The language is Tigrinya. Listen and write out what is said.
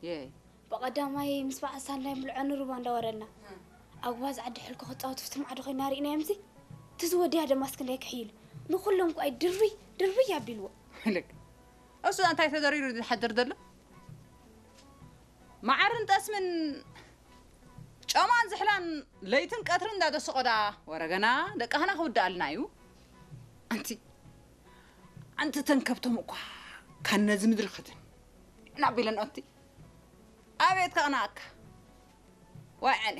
የይ ብቐዳማይ ምስ በዓል ሳንዳይ ምልዖ ንሩባ እንዳወረድና ኣብ ጓዝ ዓዲ ሕልኮ ክፃወት ፍቲ ማዕዶ ኮይና ርኢናዮ ምሲ እቲ ዝወድያ ደማስ ክንደይ ክሕይሉ ንኩሎም ኳይ ድርብይ ድርብይ ኣቢልዎ ልክ እሱ እንታይ ተደሪሩ ዝሓድር ዘሎ መዓርን ጠስምን ጨማን ዝሕላን ለይትን ቀትርን እንዳደሰቆ ደኣ ወረገና ደቃህና ክውድኣልና እዩ ኣንቲ ኣንቲ ተንከብቶም እኳ ካብ ነዚ ምድሪ ክድን ናቢለን ኦቲ ኣቤት ከቕናኣካ ዋይ ዕኔ